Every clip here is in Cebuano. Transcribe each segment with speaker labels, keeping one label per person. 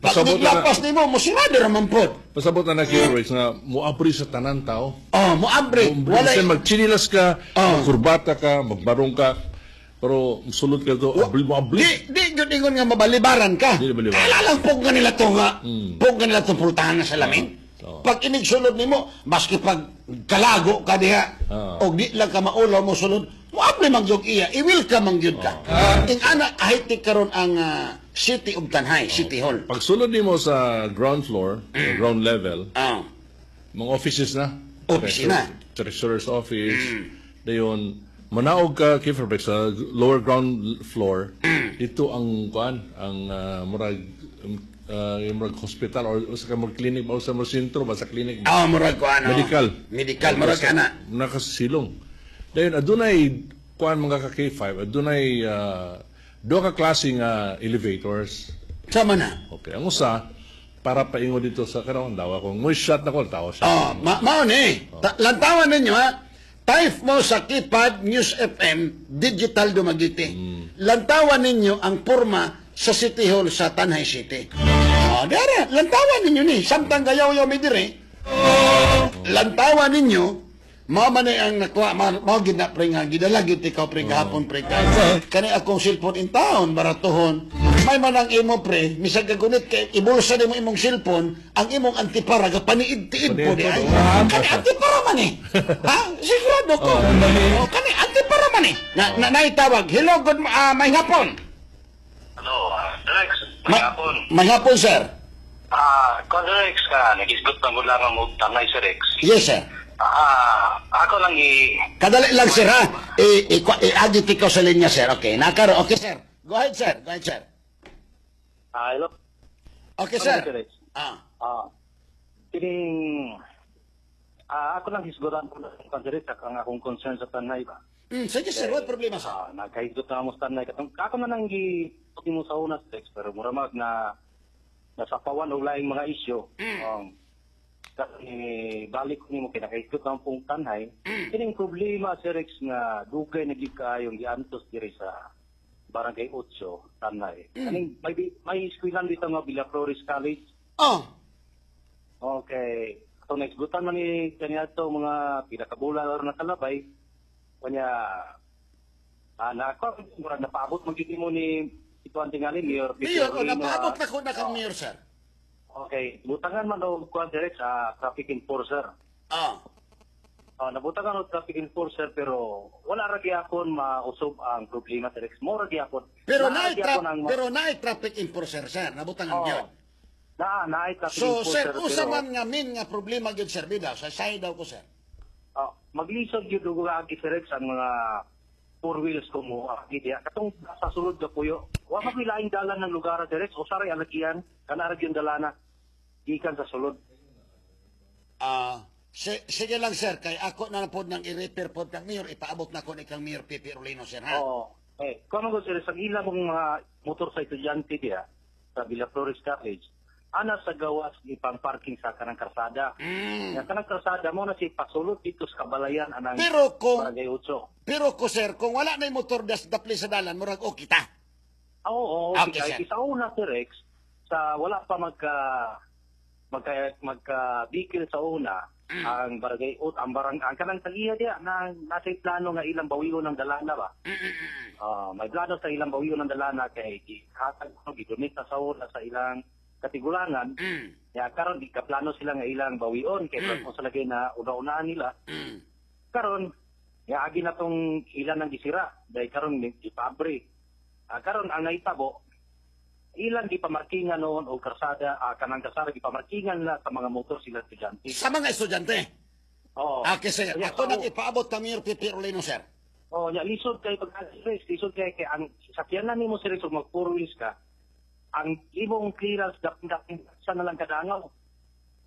Speaker 1: Pag
Speaker 2: Pasabot na
Speaker 1: niglapas nimo, musirado ra man pod.
Speaker 2: Pasabot na na Rex nga moabri sa tanan tao.
Speaker 1: Oh, moabri.
Speaker 2: Wala
Speaker 1: Wala
Speaker 2: magchinilas ka, magkurbata ka, magbarong ka, pero sulod ka to, abri mo abri.
Speaker 1: Di gyud ingon nga mabalibaran ka.
Speaker 2: Di mabalibaran.
Speaker 1: Kala lang pug nga nila to nga. Pug nga nila tong pultahan na salamin. Pag inigsulod nimo, maski pag kalago ka diha, og di lang ka maulaw mo sulod, moabli man gyud iya, i-welcome man gyud ka. Ing ana kahit karon ang City of Tanjay, City Hall.
Speaker 2: Pag sulod nimo sa ground floor, ground level, mga offices na.
Speaker 1: Opisina.
Speaker 2: Treasurer's office. Dayon, manaog ka, Kiefer Beck, sa lower ground floor, dito ang kuan, ang murag yung murag hospital or sa murag clinic ba o sa murag sentro ba sa clinic ba?
Speaker 1: Ah, murag ko ano.
Speaker 2: Medical.
Speaker 1: Medical, murag ana.
Speaker 2: Nakasilong. Dayon adunay kuan, mga ka K5, adunay duha ka klase nga elevators.
Speaker 1: Sama na.
Speaker 2: Okay, ang usa para paingon dito sa karon dawa kung mo shot na ko tawo siya.
Speaker 1: Oh, mao ni. Lantawan ninyo ha. Type mo sa keypad News FM Digital Dumaguete. Lantawan ninyo ang porma sa City Hall sa Tanjay City. Oh, dere, lantawan ninyo ni. Samtang gayaw-yaw mi dire. Lantawan ninyo. Mao man ni ang nakuha, mao gid na, pre, nga gidala gyud ikaw, pre, gahapon, pre, kay kani akong cellphone in town baratuhon. May man ang imo, pre, misag kagunit kay ibulsa nimo imong cellphone, ang imong antipara gapaniid-tiid po di ay. Kani antipara man eh. Ha? Sigurado ko. Oh, kani antipara man eh. Na naitawag. Hello, good may hapon.
Speaker 3: Hello, Rex.
Speaker 1: May,
Speaker 3: May hapon.
Speaker 1: May hapon, sir.
Speaker 3: Ah, Rex, ka, nagisgot lang ko lang ang Tanjay si Rex.
Speaker 1: Yes, sir.
Speaker 3: Ah, ako lang i
Speaker 1: Kadali lang, sir, ha. I-agit ikaw sa linya, sir. Okay, nakaro. Okay, sir. Go ahead, sir. Go ahead, sir.
Speaker 3: Ah, hello.
Speaker 1: Okay, sir.
Speaker 3: Hello, Rex.
Speaker 1: Ah.
Speaker 3: Ah, kining ako lang hisgutan ko lang kan Rex ang akong concern sa Tanjay ba.
Speaker 1: Sige, sir. What problema, sir?
Speaker 3: Ah, nagkahisgot na mo sa Tanjay katong ako na nang gi mo sa una, Rex, pero mura mag na nasapawan og laing mga isyu. Kasi balik ko nimo kay nakahisgot na pong Tanjay. Kining problema si Rex nga dugay na gyud kaayong giantos diri sa Barangay 8, Tanjay. Kaning may eskwelahan dito nga Villaflores College.
Speaker 1: Oh.
Speaker 3: Okay. So naisgutan man ni kaniadto mga pila ka bulan aron nakalabay. Kanya na ako murag napaabot man gyud mo ni ito ang tingali Mayor Peter
Speaker 1: Mayor, oh,
Speaker 3: Rino,
Speaker 1: napaabot na ko na kang mayor, sir.
Speaker 3: Okay, butangan man og kuan direct sa traffic enforcer. Oh, nabutangan og traffic enforcer pero wala ra gyapon mausab ang problema sa Rex. Mo ra gyapon.
Speaker 1: Pero
Speaker 3: Naa
Speaker 1: naay
Speaker 3: gyapon ang
Speaker 1: pero naay traffic enforcer, sir. Nabutangan
Speaker 3: Oo.
Speaker 1: gyud.
Speaker 3: Naay traffic
Speaker 1: So, sir,
Speaker 3: enforcer
Speaker 1: usa
Speaker 3: pero
Speaker 1: man nga min nga problema gyud, sir, bida. Sa side daw ko, sir.
Speaker 3: Oh, maglisod gyud og agi si Rex ang mga four wheels ko mo agi diya. Katong sa sulod ka puyo. Wa man laing dalan ng lugar si Rex, usa ray alagian, kana ra gyud dalana gikan sa sulod.
Speaker 1: Ah, sige lang, sir, kay ako na pod nang i-refer pod kang mayor, ipaabot na ko ni kang Mayor Pepe Orlino, sir, ha.
Speaker 3: Oo. Eh, kung ano sir, sa ilang mga motor sa estudyante diya sa Villaflores College, ana sa gawas ipang parking sa kanang karsada. Yang kanang karsada mo na si pasulod dito sa kabalayan anang
Speaker 1: Pero kung
Speaker 3: Barangay Utso.
Speaker 1: Pero ko, sir, kung wala na yung motor das dapli sa dalan, murag okay ta.
Speaker 3: Ah, oo,
Speaker 1: Okay,
Speaker 3: okay,
Speaker 1: sir.
Speaker 3: sa una si Rex, sa wala pa magka magka magka bikil sa una, ang barangay ut ang barang ang kanang tagiya diya na nasa plano nga ilang bawion ng dalana ba. Ah, may plano sa ilang bawion ng dalana kay gihatag ko gidonate na sa una sa ilang katigulangan. Ya karon di ka plano sila nga ilang bawion kay kung sa lagay na una-unahan nila. Karon ya agi na tong ilan ang gisira dahil karon gipabre. Ah, karon ang nahitabo ilang gipamarkingan noon og karsada, kanang karsada gipamarkingan na sa mga motor sila estudyante.
Speaker 1: Sa mga estudyante.
Speaker 3: Oo.
Speaker 1: Okay, sir.
Speaker 3: Kaya,
Speaker 1: Ako
Speaker 3: oo.
Speaker 1: nang ipaabot kang Mayor Pepe Orlino, sir.
Speaker 3: Oh, nya lisod kay pag lisod kay kay ang sakyanan nimo sir og mag four wheels ka. Ang imong clearance dapit sa na lang kadangaw.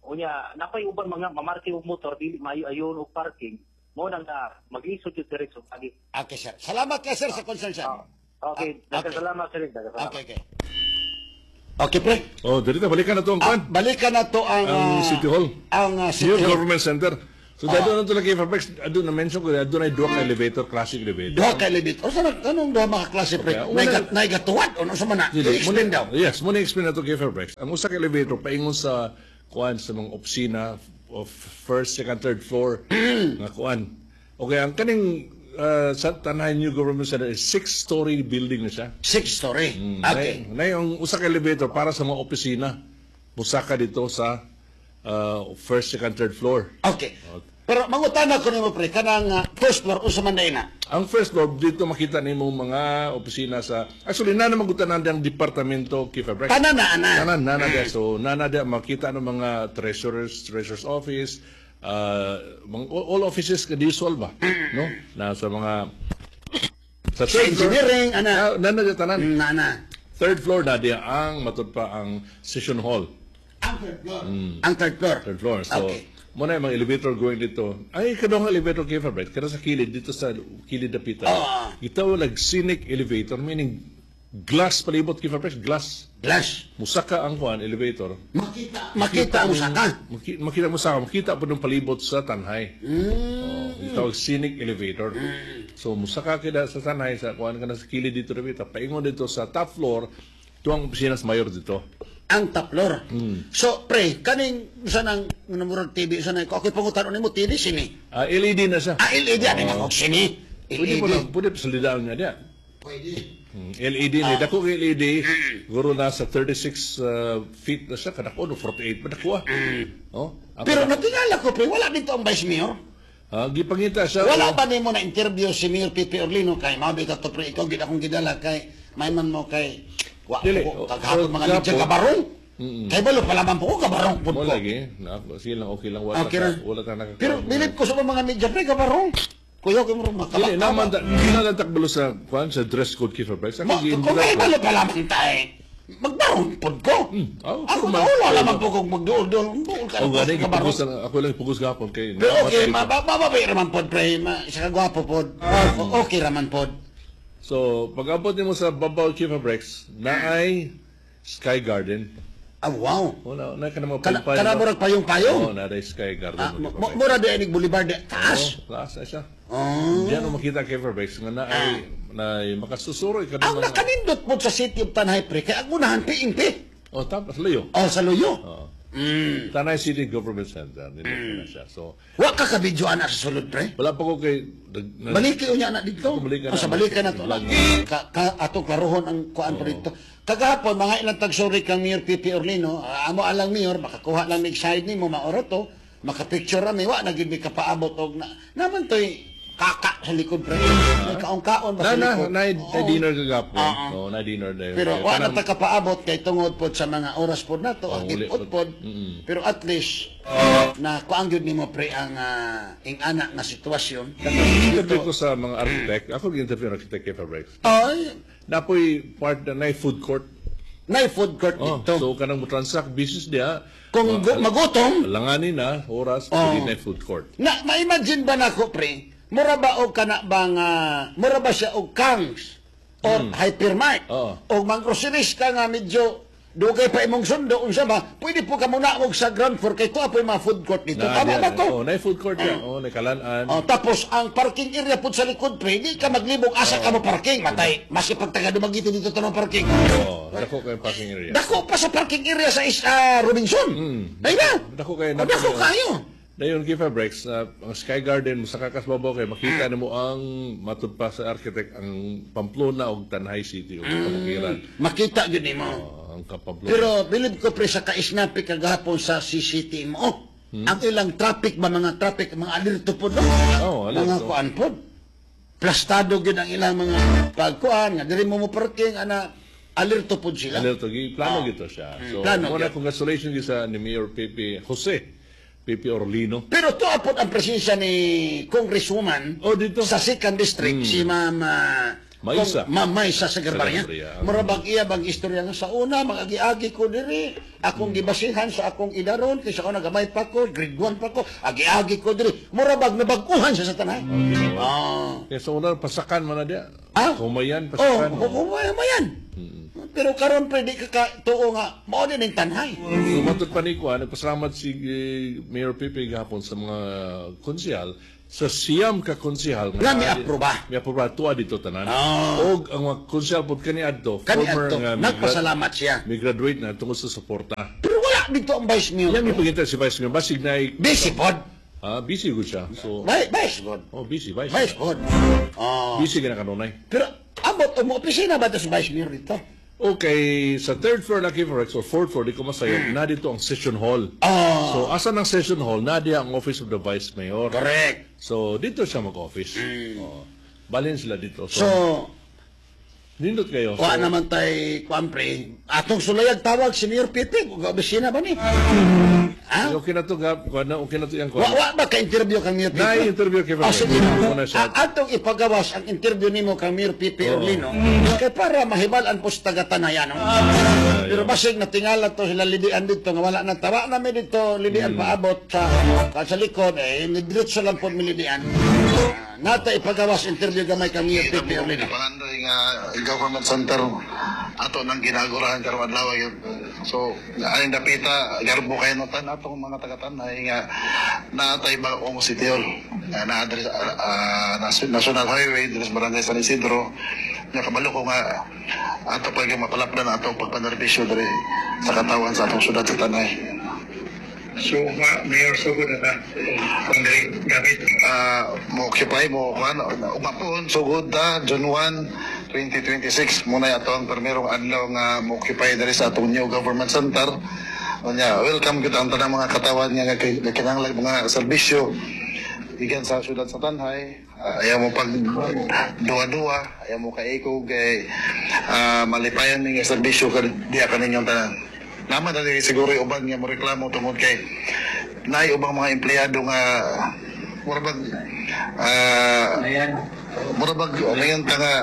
Speaker 3: Unya napay uban mga mamarking og motor dili maayo ayon og parking. Mo nang na maglisod jud diretso agi.
Speaker 1: Okay, sir. Salamat kay sir sa concern, sir.
Speaker 3: Ah, okay,
Speaker 1: Ah,
Speaker 3: daghang salamat sir, daghang salamat.
Speaker 1: Okay. Okay, pre.
Speaker 2: Oh, dito balikan na to ang
Speaker 1: Ah,
Speaker 2: kwan.
Speaker 1: balikan na to ang
Speaker 2: Ang City Hall.
Speaker 1: Ang City
Speaker 2: New
Speaker 1: Hall.
Speaker 2: Government Center. So dadto na to lang kay Fabrics, adto na mention ko, adto na duha ka elevator, classic elevator.
Speaker 1: Duha ka elevator. O sa anong duha mga klase, pre?
Speaker 2: Okay,
Speaker 1: Naigatuwad o ano sa mana?
Speaker 2: Dili,
Speaker 1: I-explain daw.
Speaker 2: Yes, mo na explain na to kay Fairbanks. Ang usa ka elevator paingon sa kuan sa mga opisina of first, second, third floor nga kuan. Okay, ang kaning sa Tanay New Government Center is six-story building na siya.
Speaker 1: Six story. Okay.
Speaker 2: Na yung usa ka elevator para sa mga opisina. Musaka dito sa first, second, third floor.
Speaker 1: Okay. Pero mangutana ko nimo, pre, kanang first floor unsa man day na?
Speaker 2: Ang first floor dito makita nimo mga opisina sa, actually, na naman gutanan ang departamento kay Fairbanks.
Speaker 1: Tanan na ana.
Speaker 2: Tanan nana dia. So nana dia makita ng mga treasurer's office, mga, all offices ka usual ba, no? Na sa mga sa
Speaker 1: Sa
Speaker 2: third floor,
Speaker 1: engineering ana.
Speaker 2: ah, nana dia tanan.
Speaker 1: Nana.
Speaker 2: Third floor na dia ang matud pa ang session hall.
Speaker 1: Ang third floor. Ang third floor.
Speaker 2: Third floor. So mo na yung mga elevator going dito. Ay, kadong elevator kay Fabric, kada sa kilid dito sa kilid dapita. Gitawag lag scenic elevator, meaning glass palibot kay Fabric, glass.
Speaker 1: Glass.
Speaker 2: Musaka ang kuan elevator.
Speaker 1: Makita makita ang saka.
Speaker 2: Makita mo sa makita po ng palibot sa Tanhay. Oh, gitawag scenic elevator. So musaka kita sa Tanhay sa kuan kana sa kilid dito dapita. Paingon dito sa top floor, tuang opisina sa mayor dito.
Speaker 1: Ang top floor. So pre, kaning sa nang murag TV sa nang ako pangutan nimo TV sini.
Speaker 2: Ah, LED na siya.
Speaker 1: Ah, LED ani ako sini.
Speaker 2: Pwede po
Speaker 1: LED.
Speaker 2: na, pwede pa salidaan niya diya.
Speaker 1: Pwede.
Speaker 2: LED ni dako kay LED guro na sa 36 feet na siya kadako no 48 pa dako ah. Oh, ang
Speaker 1: Pero natingala ko, pre, wala dito ang vice mayor.
Speaker 2: Ah, gipangita siya.
Speaker 1: Wala
Speaker 2: Oh.
Speaker 1: ba nimo na interview si Mayor Pipi Orlino kay mao bitaw to, pre, ikaw gid akong gidala kay may man mo kay wa
Speaker 2: Dili.
Speaker 1: ko kaghapon
Speaker 2: Oh,
Speaker 1: mga media
Speaker 2: gapon.
Speaker 1: kabarong. Kay balo pala man po ko kabarong pud
Speaker 2: Mo
Speaker 1: ko.
Speaker 2: lagi, na sige lang, okay lang, wala
Speaker 1: Okay
Speaker 2: ta,
Speaker 1: ra.
Speaker 2: wala ta nakaka.
Speaker 1: Pero bilib ko sa mga media, pre, kabarong. Kuya ko mo makaba.
Speaker 2: Dili naman ta, dili na lang takbalo sa kuan sa dress code kay Fabric. Sa
Speaker 1: Ma, kung kay balo pala man ta eh. Magbarong pud ko.
Speaker 2: Oh,
Speaker 1: Ako
Speaker 2: man.
Speaker 1: wala lamang po kong magduol-duol. Duol ka
Speaker 2: Oh,
Speaker 1: na
Speaker 2: gani
Speaker 1: po, kabarong.
Speaker 2: gipugos lang ako lang pugos gapon kay
Speaker 1: Pero okay, mababay raman pod, pre. Ma, isa ka gwapo pod. Okay raman pod.
Speaker 2: So, pag abot nimo sa babaw Chief Brex, naay Sky Garden.
Speaker 1: Ah, wow.
Speaker 2: Wala na ka na mga
Speaker 1: Kana,
Speaker 2: payong-payong.
Speaker 1: kana murag payong-payong.
Speaker 2: Oh, naay Sky Garden.
Speaker 1: Ah, mura di inig Boulevard di taas.
Speaker 2: Oh, taas na siya.
Speaker 1: Oh.
Speaker 2: Diyan mo makita kay Fairbanks nga naay na makasusuroy ka
Speaker 1: Ang nakanindot po sa City of Tanay, pre, kay ang unahan PNP.
Speaker 2: Oh, tapos layo.
Speaker 1: Oh, sa Luyo.
Speaker 2: Oh. Tanay City Government Center nindot na siya. So,
Speaker 1: Wa ka ka video ana sa sulod, pre.
Speaker 2: Wala pa ko kay
Speaker 1: Baliki unya na dito.
Speaker 2: Baliki
Speaker 1: Oh,
Speaker 2: na.
Speaker 1: sa balika na to. Ka, ato klarohon ang kuan pa dito. Kagahapon mga ilang tagsuri kang Mayor Pipi Orlino, ah, amo alang mayor makakuha lang mig side nimo maoro to, makapicture ra mi wa na gid mi kapaabot og na naman toy kaka sa likod, pre. May kaon-kaon ba
Speaker 2: Na
Speaker 1: sa
Speaker 2: na
Speaker 1: likod?
Speaker 2: na, na dinner kagapon.
Speaker 1: Oo.
Speaker 2: Oh, na dinner na yun.
Speaker 1: Pero
Speaker 2: Kaya
Speaker 1: wa na ta kapaabot kay tungod pod sa mga oras pod nato,
Speaker 2: Oh,
Speaker 1: ang
Speaker 2: uli
Speaker 1: gipod
Speaker 2: pod.
Speaker 1: pod. Pero at least na kuang gyud nimo, pre, ang ing-ana nga sitwasyon.
Speaker 2: Interview ko sa mga architect. Ako gi-interview ang architect kay Fairbanks.
Speaker 1: Ay,
Speaker 2: Napoy part na nay food court.
Speaker 1: nay food court
Speaker 2: Oh,
Speaker 1: dito.
Speaker 2: so kanang mo transact business diya.
Speaker 1: Kung magutom,
Speaker 2: Langani na oras
Speaker 1: Oh.
Speaker 2: pwede na food court.
Speaker 1: Na ma-imagine ba nako, pre? Mura ba og kana bang mura ba siya og Kangs or Hypermart?
Speaker 2: Oo.
Speaker 1: O mang-groceries ka nga medyo dugay pa imong sundo unsa ba? Pwede po ka muna og sa ground floor kay tuwa po yung mga food court dito.
Speaker 2: Na,
Speaker 1: Tama
Speaker 2: diya,
Speaker 1: ba to?
Speaker 2: Oh, nay food court diya. Oh, nay kalanan.
Speaker 1: Oh, tapos ang parking area po sa likod, pre, di ka maglibog asa ka mo parking, matay. Maski pag taga Dumaguete dito tanong parking.
Speaker 2: Oh, dako kay parking area.
Speaker 1: Dako pa sa parking area sa Robinson. Ay na.
Speaker 2: Dako kay
Speaker 1: Oh, dako kayo.
Speaker 2: Dayon give a breaks ang Sky Garden mo sa kakasbabaw kay makita nimo ang matud pa sa architect ang Pamplona og Tanay City ug kabukiran.
Speaker 1: Makita gyud nimo.
Speaker 2: Oh, ang Pamplona.
Speaker 1: Pero bilib ko, pre, sa kaisnapi kagahapon sa CCTMO. Ang ilang traffic ba, mga traffic, mga alerto po, no?
Speaker 2: Oo, alerto.
Speaker 1: Mga kuan po. Plastado gyud ang ilang mga pagkuan nga diri mo mo parking ana, alerto po sila.
Speaker 2: Alerto gi plano gito siya. So,
Speaker 1: Plano
Speaker 2: muna
Speaker 1: gyud.
Speaker 2: congratulations gyud sa ni Mayor Pepe Jose Pepe Orlino.
Speaker 1: Pero tuwa po ang presensya ni Congresswoman
Speaker 2: Oh, dito.
Speaker 1: sa second district, si Ma'am
Speaker 2: Maisa.
Speaker 1: Ma'am Maisa Sagarbarria.
Speaker 2: Sagarbarria.
Speaker 1: Mura bang iya bang istorya nga sa una, mag-agi-agi ko diri, akong gibasihan sa akong idaron, kaysa una gamay pa ko, grade 1 pa ko, agi-agi ko diri. Mura bag nabag-uhan siya sa tanan. Oh.
Speaker 2: Kaya sa una pasakan man na diya.
Speaker 1: Ah?
Speaker 2: Humayan
Speaker 1: Oh,
Speaker 2: pasakan.
Speaker 1: humayan. Pero karon pre, di ka ka tuo nga mao din ning Tanay.
Speaker 2: So, matod pa ni Kuan, nagpasalamat si Mayor Pipe gahapon sa mga konsehal, sa 9 ka konsehal
Speaker 1: Nga miaproba.
Speaker 2: Miaproba tuwa dito tanan.
Speaker 1: Oh.
Speaker 2: Og ang mga konsehal pod kaniadto,
Speaker 1: Kani
Speaker 2: former
Speaker 1: adto
Speaker 2: nga
Speaker 1: nagpasalamat siya.
Speaker 2: mi graduate na tungod sa suporta.
Speaker 1: Pero wala dito ang Vice Mayor.
Speaker 2: Yang ipagintay si Vice Mayor, basig na
Speaker 1: Busy pod.
Speaker 2: Ah, busy gud siya. So,
Speaker 1: Vice pod.
Speaker 2: oh, busy Vice.
Speaker 1: Vice pod. Oh.
Speaker 2: Busy ka na kanunay.
Speaker 1: Pero abot mo opisina ba to sa Vice Mayor dito?
Speaker 2: Okay, sa third floor na Kifarex or fourth floor, di ko masayop, na dito ang session hall.
Speaker 1: Oh.
Speaker 2: So, asan ang session hall? Na diya ang office of the Vice Mayor.
Speaker 1: Correct.
Speaker 2: So, dito siya mag-office. Oh. Balin sila dito. So,
Speaker 1: So,
Speaker 2: nindot kayo. So,
Speaker 1: wa naman tay kuan pre. Atong sulayag tawag si Mayor Pipe, ug opisina ba ni? Ha?
Speaker 2: Okay na to, Gab. Kuha na, okay na to yung
Speaker 1: Wa
Speaker 2: kuha.
Speaker 1: wa ba ka interview kang Mayor Pipe?
Speaker 2: Na-interview kay
Speaker 1: Oh,
Speaker 2: Farex.
Speaker 1: sige.
Speaker 2: Muna siya.
Speaker 1: Atong ipagawas ang interview nimo kang Mayor Pipe Orlino kay para mahibal-an po sa taga-Tanayan. No? Pero basig natingala to sila lidian dito nga wala na tawa na mi dito lidian paabot sa sa likod eh diretso lang po mi lidian. Nata ipagawas interview gamay kang Mayor Pipe Orlino.
Speaker 4: Pangandoy nga government center ato nang ginagurahan karong adlaw yun. So aning dapita garbo kayo no tan atong mga taga-Tanay nga naatay bagong City Hall nga naa diri sa National Highway diri sa Barangay San Isidro nga kabalo ko nga ato pa yung mapalapdan ato pagpanerbisyo diri sa katawan sa atong syudad sa Tanay.
Speaker 5: So, Mayor, sugod na ta. Kung diri gamit.
Speaker 4: Mo occupy mo kuan umapon sugod ta June 1, 2026 muna ato ang primerong adlaw nga mo occupy diri sa atong new government center. Unya, welcome gyud ang tanang mga katawan nga nga kinahanglan mga serbisyo gikan sa syudad sa Tanay. Ayaw mo pag duwa-duwa, ayaw mo kaikog kay malipayan ni nga serbisyo ka diya kaninyong tanan. Naman na diri siguro yung uban nga mo reklamo tungod kay naay ubang mga empleyado nga mura bag
Speaker 5: Ayan.
Speaker 4: mura bag ngayon ta nga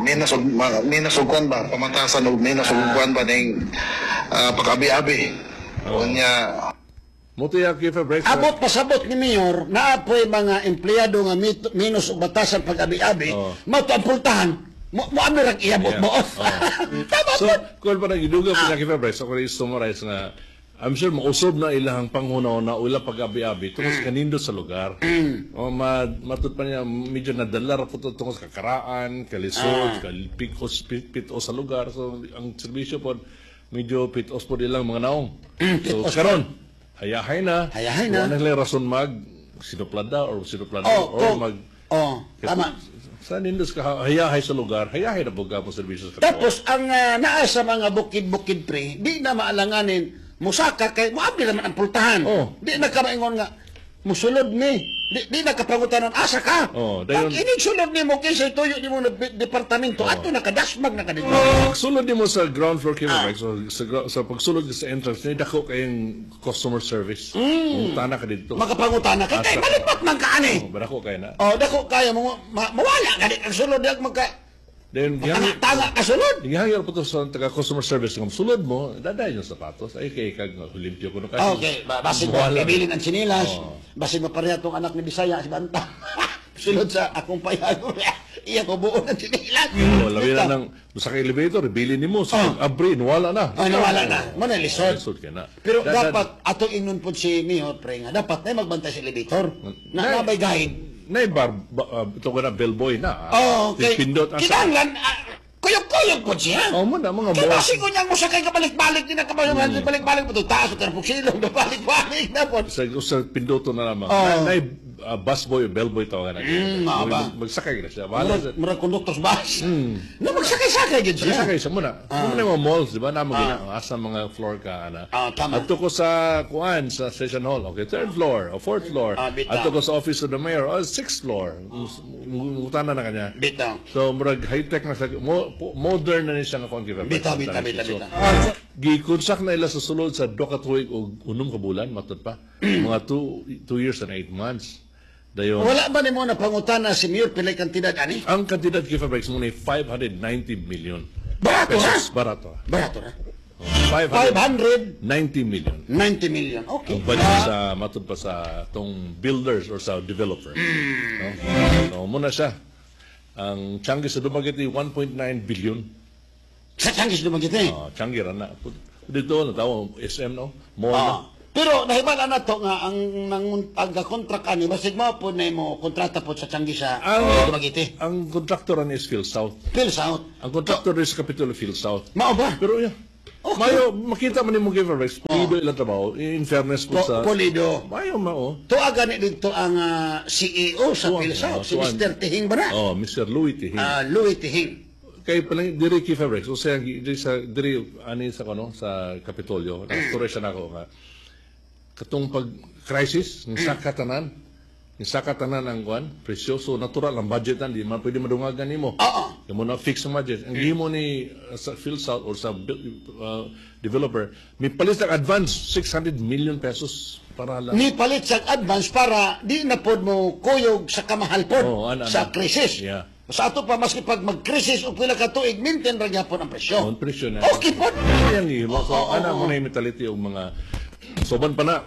Speaker 4: minas og kuan ba pamatasan og minas og kuan ba ning pag-abi-abi. Unya.
Speaker 2: Muti ang Kifarex.
Speaker 1: Abot pasabot ni Mayor, naapoy mga empleyado nga minus og batasan pag-abi-abi, mao to ang pultahan. Mo abi ra iabot mo off. Tama
Speaker 2: So,
Speaker 1: po.
Speaker 2: kung pa nagiduga pa niya Kifarex, ako rin summarize nga, I'm sure mausog na ilang panghunaw na ula pag-abi-abi tungkol sa kanindo sa lugar. O matud pa niya, medyo nadala ra po to tungkol sa kakaraan, kalisod, kalpikos, pitos sa lugar. So, ang serbisyo po, medyo pitos po ilang mga naong. So,
Speaker 1: pitos
Speaker 2: karon, hayahay na.
Speaker 1: Hayahay na.
Speaker 2: Wala na sila rason mag sinuplada or sinuplada
Speaker 1: Oh,
Speaker 2: or mag
Speaker 1: Oh, tama.
Speaker 2: Sa nindos ka hayahay sa lugar, hayahay na po ka po serbisyo sa katawan.
Speaker 1: Tapos ang naa sa mga bukid-bukid pre, di na maalanganin musaka kay moabli naman ang pultahan.
Speaker 2: Oh.
Speaker 1: Di na ka maingon nga musulod ni. Di na kapangutanan asa ka.
Speaker 2: Oh, dayon-
Speaker 1: Pag inig sulod nimo kinsa tuyo nimo na departamento ato nakadasmag na ka dito.
Speaker 2: Pagsulod nimo sa ground floor kay Rex, so, sa pagsulod ka sa entrance, ni dako kayong customer service. Mungutana ka dito.
Speaker 1: Makapangutana ka kay
Speaker 2: Asa ka.
Speaker 1: malipot man ka ani.
Speaker 2: Oh, dako kay na.
Speaker 1: Oh, dako kaya mo mawala ka di ang sulod di magka
Speaker 2: Then
Speaker 1: tanga ka sulod.
Speaker 2: gihangyo po to sa taga customer service nga sulod mo, daday yung sapatos. Ay kay kag limpyo kuno kasi.
Speaker 1: Okay, basin mo
Speaker 2: Wala.
Speaker 1: ibilin ang sinilas. Basin mo pareha tong anak ni Bisaya si Banta. Sulod sa akong payag. Iya ko buo ng sinilas.
Speaker 2: Oh, labi na nang sa kay elevator, bilin nimo sa pag-abri, wala na.
Speaker 1: Ay, nawala na. Mo na lisod.
Speaker 2: Lisod kay na.
Speaker 1: Pero dapat atong ingnon po si Mayor pre nga dapat na magbantay sa elevator. Na nabay guide.
Speaker 2: Nay bar ba, ito ko na bellboy na.
Speaker 1: Oh, okay.
Speaker 2: Pindot asa.
Speaker 1: Kinahanglan kuyog-kuyog po siya.
Speaker 2: Oh, mo na mga
Speaker 1: Kaya
Speaker 2: boss.
Speaker 1: basi ko niyang musakay ka balik-balik din na kabayo, balik-balik po ito, taas o silong, balik-balik na po.
Speaker 2: Sa pinduto na lamang.
Speaker 1: Oh.
Speaker 2: Na, nay busboy o bellboy tawagan na.
Speaker 1: Mga ba?
Speaker 2: Magsakay na siya. Bahala
Speaker 1: Murag,
Speaker 2: sa
Speaker 1: murag konduktor sa bus. Na magsakay-sakay gid siya.
Speaker 2: Sakay siya muna. Muna yung mga malls, di ba? Na mga asa mga floor ka ana.
Speaker 1: Ah, tama.
Speaker 2: Adto ko sa kuan sa session hall. Okay, third floor o fourth floor.
Speaker 1: Bitaw.
Speaker 2: Adto ko sa office of the mayor, oh, sixth floor. Ngutana na kanya.
Speaker 1: Bitaw.
Speaker 2: So murag high-tech na sa modern na ni siya nga kuan kita.
Speaker 1: Bitaw, bitaw, bitaw,
Speaker 2: So,
Speaker 1: bitaw.
Speaker 2: gikonsak na ila sa sulod sa duha ka tuig og 6 ka bulan matud pa. Mga 2 years and 8 months. Dayon.
Speaker 1: Wala ba nimo na pangutana si Mayor pilay kantidad ani?
Speaker 2: Ang kantidad kay Fabrex mo ni 590 million
Speaker 1: Barato ra.
Speaker 2: pesos. Barato.
Speaker 1: Barato ra.
Speaker 2: 590
Speaker 1: 590
Speaker 2: million.
Speaker 1: million. Okay.
Speaker 2: Ang budget sa matud pa sa tong builders or sa developer. No? So muna siya. Ang Changi sa Dumaguete 1.9 billion.
Speaker 1: Sa Tiangge sa Dumaguete.
Speaker 2: Oh, Tiangge ra na. Dito na tawo SM no. Mall na.
Speaker 1: Pero nahibala na to nga ang nang ang contract ani basig mao po na mo kontrata po sa Tiangge sa Dumaguete.
Speaker 2: Ang contractor ani is Phil South.
Speaker 1: Phil South.
Speaker 2: Ang contractor is Capitol Phil South.
Speaker 1: Mao ba?
Speaker 2: Pero yeah.
Speaker 1: Okay.
Speaker 2: Mayo makita man nimo kay Rex, pulido ilang trabaho. In fairness po sa
Speaker 1: Pulido.
Speaker 2: Mayo mao.
Speaker 1: Tuwa gani dito ang CEO sa
Speaker 2: Tuwa,
Speaker 1: Phil South, si
Speaker 2: tuwa.
Speaker 1: Mr. Tihing ba na?
Speaker 2: Oh, Mr. Louis Tihing.
Speaker 1: Louis Tihing.
Speaker 2: Kay palang diri kay Fabrex, so siya diri sa diri ani sa kuno sa Kapitolyo, nakastorya siya nako nga katong pag crisis ng sakatanan, ng sakatanan ang kuan, presyo so natural ang budget nan di man pwede madungagan nimo.
Speaker 1: Oo.
Speaker 2: Yung mo na fix ang budget. Ang gihimo ni sa PhilSouth or sa developer, may palit ang advance 600 million pesos para lang.
Speaker 1: Ni palit sa advance para di na pod mo kuyog sa kamahal pod
Speaker 2: Oo, ana,
Speaker 1: sa
Speaker 2: ana.
Speaker 1: krisis.
Speaker 2: Yeah.
Speaker 1: Sa ato pa maski pag mag-krisis o pila ka tuig maintain ra gyapon ang presyo.
Speaker 2: On presyo na.
Speaker 1: Okay pod.
Speaker 2: Yan gihimo. So,
Speaker 1: Oo,
Speaker 2: ana
Speaker 1: oo,
Speaker 2: mo na yung mentality og mga soban pa na.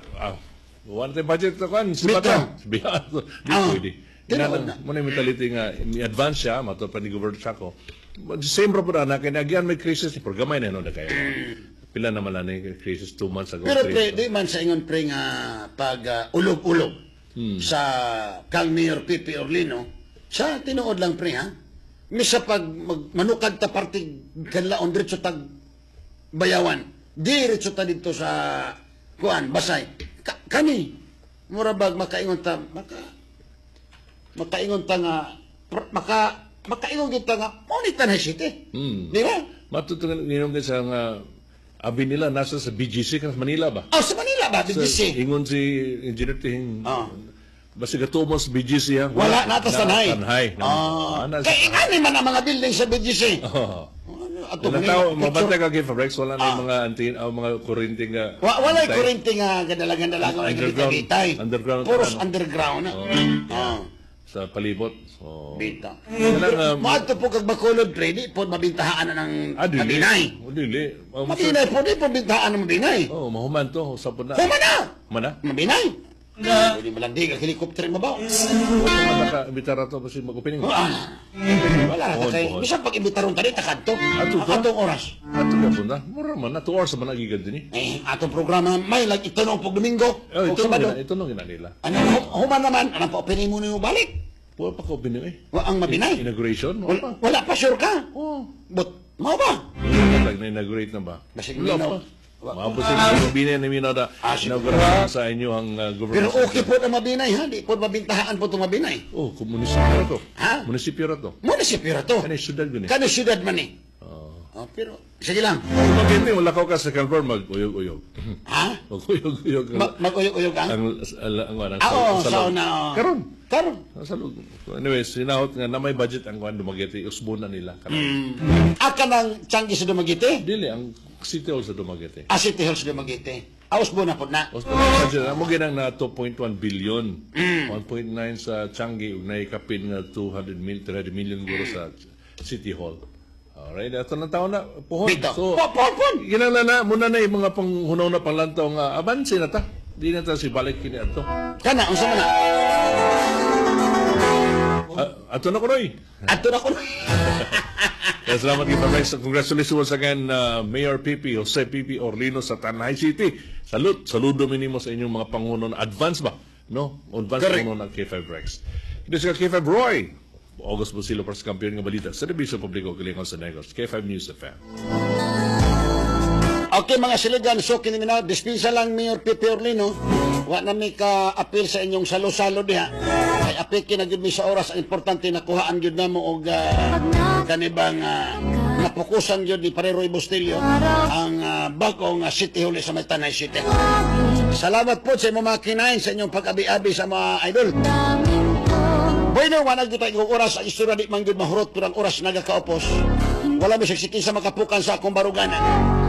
Speaker 2: Wala tayong budget na kuan. Si
Speaker 1: Bitaw.
Speaker 2: bata. Biya. Di pwede.
Speaker 1: Tinuod
Speaker 2: Ina
Speaker 1: na.
Speaker 2: mo na yung mentality nga i-advance siya mato pa ni Governor Chaco. But same ra pud ana kay nagyan may crisis pero gamay na no na kayo. Pila naman lang ni crisis 2 months ago.
Speaker 1: Pero
Speaker 2: 3
Speaker 1: pre, di man sa ingon pre nga pag ulog-ulog sa kang Mayor Pipi Orlino, sa tinuod lang pre ha. Misa pag manukad ta parte kanlaon diretso tag Bayawan. Diretso ta dito sa kuan Basay. Kani mura bag makaingon ta nga makaingon kita nga mao ni Tanay City. Di ba?
Speaker 2: Matutungan ninong kay sa nga abi nila nasa sa BGC kan sa Manila ba?
Speaker 1: Oh, sa Manila ba?
Speaker 2: Sa,
Speaker 1: BGC.
Speaker 2: ingon si Engineer Tihing. Basta gatuo mo sa BGC ha.
Speaker 1: Wala na ta Tanay.
Speaker 2: Tanay.
Speaker 1: Ah. Kay ingani man ang mga building sa BGC.
Speaker 2: Oh.
Speaker 1: Ato
Speaker 2: Wala
Speaker 1: Manila,
Speaker 2: tao,
Speaker 1: picture.
Speaker 2: mabantay ka kay Fabrex, wala na yung mga anti, ang mga kuryente nga.
Speaker 1: Walay
Speaker 2: antay.
Speaker 1: kuryente nga gadalangan-dalangan walay
Speaker 2: Underground.
Speaker 1: gitay.
Speaker 2: Underground
Speaker 1: Puros
Speaker 2: ano.
Speaker 1: underground na.
Speaker 2: Sa palibot. So,
Speaker 1: Bita.
Speaker 2: Kanang,
Speaker 1: Maadto po kag Bacolod pre, di po mabintahaan na ng
Speaker 2: dili.
Speaker 1: Mabinay.
Speaker 2: Oh, dili. Oh,
Speaker 1: Mabinay po, di po bintahaan ng Mabinay.
Speaker 2: Oh, mahuman to. Usap po na.
Speaker 1: Human na!
Speaker 2: Human na?
Speaker 1: Mabinay. Pwede malandig ang helicopter mabaw.
Speaker 2: Human na ka, imbitara to, basta mag-opening.
Speaker 1: Wala na
Speaker 2: Pohon,
Speaker 1: kay.
Speaker 2: pohon.
Speaker 1: Bisan pag imbitaron tani takadto.
Speaker 2: Ato to?
Speaker 1: Atong oras.
Speaker 2: Ato ka po na. Mura man na. 2 hours man nagigad din eh.
Speaker 1: Eh, atong programa may lag itunong pog Domingo.
Speaker 2: Oh,
Speaker 1: Og
Speaker 2: ito
Speaker 1: Sabado.
Speaker 2: nung ito nung ginanila.
Speaker 1: Ano human naman, anong pa opening mo nimo balik?
Speaker 2: Wala pa ka opening eh.
Speaker 1: Wa ang Mabinay.
Speaker 2: Inauguration?
Speaker 1: Wala,
Speaker 2: Wala pa.
Speaker 1: wala pa sure ka.
Speaker 2: Oh.
Speaker 1: But mao ba?
Speaker 2: Wala na inaugurate na ba?
Speaker 1: Basig
Speaker 2: Wala
Speaker 1: minaw.
Speaker 2: pa. Maabot sa inyo, binay na minaw na inauguration sa inyo ang government.
Speaker 1: Pero okay po na Mabinay ha, di po mabintahaan po itong Mabinay.
Speaker 2: Oh, kung munisipyo ra to.
Speaker 1: Ha?
Speaker 2: Munisipyo ra to.
Speaker 1: Munisipyo ra to.
Speaker 2: Kani syudad gani.
Speaker 1: Kani syudad man eh. Oh, pero sige lang.
Speaker 2: Kung magkente, wala ka sa Calvor, mag-uyog-uyog.
Speaker 1: Ha?
Speaker 2: Mag-uyog-uyog.
Speaker 1: Mag-uyog-uyog ang?
Speaker 2: Ang
Speaker 1: Oo,
Speaker 2: salog.
Speaker 1: sa una. Oo.
Speaker 2: Karon.
Speaker 1: Karon.
Speaker 2: Ang salog. So, anyway, sinahot nga na may budget ang kuan Dumaguete, usbon na nila. Karon.
Speaker 1: Aka ng Tiangge sa Dumaguete?
Speaker 2: Dili ang City Hall sa Dumaguete.
Speaker 1: Ah, City Hall sa Dumaguete. Ah, usbon na po na.
Speaker 2: Usbon na budget. Amo ginang na 2.1 billion. 1.9 sa Tiangge ug naikapin nga 200 mil 300 million guro sa City Hall. Alright, ato na taon na pohon.
Speaker 1: Bitaw.
Speaker 2: So,
Speaker 1: Po, po, po.
Speaker 2: Ginang na muna na yung mga panghunaw na panglantaw nga abanse na ta. Di na ta si balik kini ato.
Speaker 1: Kana, unsa man na?
Speaker 2: Ah, ato na kunoy.
Speaker 1: Ato na ko.
Speaker 2: Kaya salamat kay Rex. Congratulations once again, Mayor Pipi, Jose Pipi Orlino sa Tanay City. Salute. Saludo minimo sa inyong mga panguno na advance ba? No? Advance
Speaker 1: Correct.
Speaker 2: panguno ng K5 Rex. Ito si K5 Roy. August Busilo para sa kampiyon ng balita. Serbisyo Publiko, Kilingon sa Negros. K5 News FM.
Speaker 1: Okay mga siligan, so kini na dispensa lang Mayor Pipi Orlino. Wa na mi ka apil sa inyong salo-salo diha. Kay apiki na gyud mi sa oras, ang importante nakuhaan gyud namo og kanibang napokusan gyud ni Pare Roy Bustillo ang bag-ong City Hall sa may Tanay City. Salamat po sa imong mga kinain sa inyong pag-abi-abi sa mga idol. Bueno, wala gyud tayo oras ang istorya di man gyud mahurot pero ang oras nagakaupos. Wala mi siksikin sa makapukan sa akong baruganan.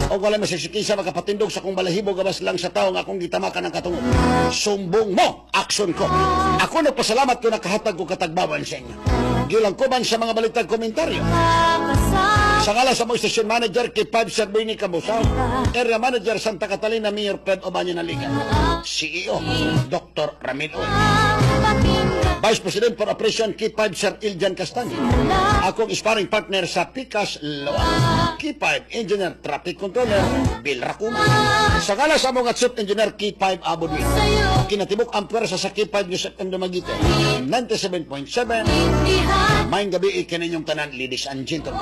Speaker 1: O wala mi siksikin sa makapatindog sa akong balahibo gabas lang sa tao nga akong gitamakan ang katungod. Sumbong mo, aksyon ko. Ako nagpasalamat ko nakahatag ko katagbawan sa inyo. Gilang ko man sa mga balitag komentaryo. Sa ngalan sa mga station manager kay Pab Serbini Cabusaw, area manager Santa Catalina Mayor Ped Obaño Naliga, CEO Dr. Ramil Uy. Vice President for Operation K5 Sir Iljan Castani. Akong sparring partner sa Pikas Loa. K5 Engineer Traffic Controller Bill Racuma. Sa ngala sa among Chief Engineer K5 Abudwin. Kinatibuk ang pwersa sa K5 News FM Dumaguete. 97.7. Maayong gabii kaninyong tanan, ladies and gentlemen.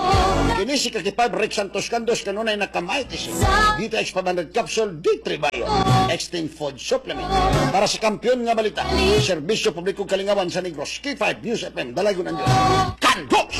Speaker 1: Kini si K5 Rick Santos Candos, kanunay naka-Mighty C. DTX 500 Capsule, D3 Bio. Extinct Food Supplement. Para sa kampiyon nga balita, serbisyo publiko, kalingawan sa Negros, K5 News FM, dalagon ang Diyos. Kandos!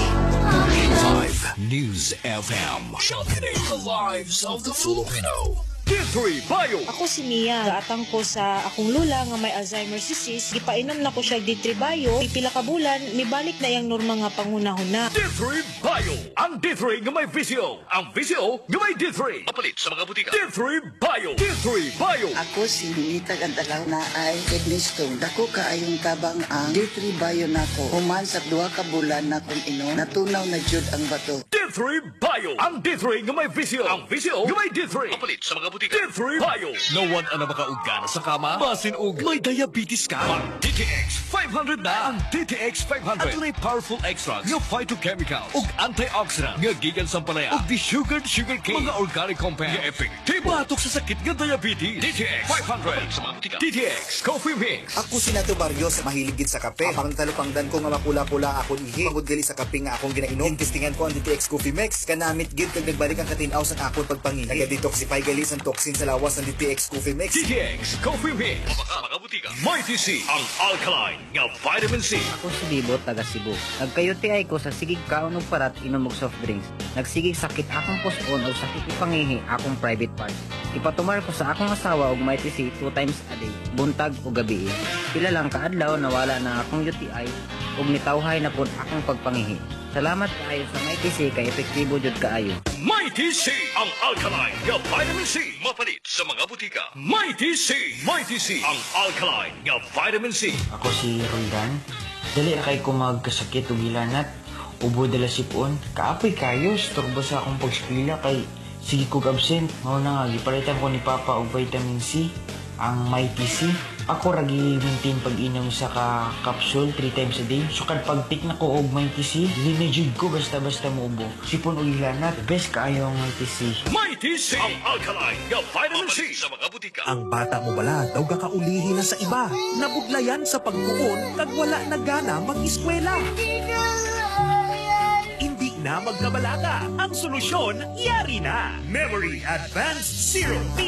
Speaker 6: 5 News FM. Shocking the lives of the Filipino. D3 Bio.
Speaker 7: Ako si Mia. Gaatang ko sa akong lula nga may Alzheimer's disease. Gipainom na ko siya D3 Bio. Pila ka bulan, mibalik na iyang normal nga panghunahuna.
Speaker 6: D3 Bio. Ang D3 nga may VCO. Ang VCO nga may D3. Mapalit sa mga butika. D3 Bio. D3 Bio.
Speaker 8: Ako si Ninita Gantalaw na ay kidney stone. Dako kaayong tabang ang D3 Bio nako. Human sa 2 ka bulan na kong inom, natunaw na jud ang bato.
Speaker 6: D3 Bio. Ang D3 nga may VCO. Ang VCO nga may D3. Mapalit sa mga butika. D3 Bio. Nawad na makaugana sa kama? Basin og may diabetes ka? Mag DTX 500 na. Ang DTX 500. Adunay powerful extracts nga phytochemical ug antioxidant nga gikan sa ampalaya ug desugared sugar cane. Mga organic compound nga epektibo batok sa sakit nga diabetes. DTX 500 sa mga butika. DTX Coffee Mix.
Speaker 9: Ako si Nato Barrios, mahilig gid sa kape. Apang talupangdan ko nga mapula-pula ang akong ihi. Pangod gali sa kape nga akong ginainom. Testingan ko ang DTX Coffee Mix. Kanamit gid kag nagbalik ang katinaw sa akong pagpangihi. Naga-detoxify gali sa toxin sa lawas ang DTX Coffee Mix.
Speaker 6: DTX Coffee Mix. Sa mga butika. Mighty C. Ang alkaline nga vitamin C.
Speaker 10: Ako si Bibo, taga Cebu. Nagka-UTI ko sa sigig kaon og parat, inom og soft drinks. Nagsigig sakit akong puson og sakit ipangihi akong private parts. Ipatumar ko sa akong asawa og Mighty C two times a day, buntag o gabi. Pila lang kaadlaw, nawala na akong UTI ug nitawhay na pud akong pagpangihi. Salamat kaayo sa Mighty C kay epektibo jud kaayo.
Speaker 6: Mighty C. Ang alkaline nga vitamin C. Mapalit sa mga butika. Mighty C. Mighty C. Ang alkaline nga vitamin C.
Speaker 11: Ako si Roldan. Dali ra kay ko magkasakit og hilanat. Ubo, dala sipon. Kaapoy kayo, storbo sa akong pagskwela kay sige kog absent. Mao na nga gipalitan ko ni Papa og vitamin C, ang Mighty C. Ako ra gi-maintain pag-inom sa ka capsule 3 times a day. So kad pag-take na ko og Mighty C, dili na jud ko basta-basta muubo. Sipon og hilanat, best kaayo ang Mighty C.
Speaker 6: Mighty C. Ang alkaline nga vitamin C. Sa mga butika.
Speaker 12: Ang bata mo bala daw gakaulihi na sa iba. Nabudlayan sa pagkuon kag wala na gana mag-eskwela. Hindi na magkabalaka. Ang solusyon, yari na. Memory Advanced Syrup.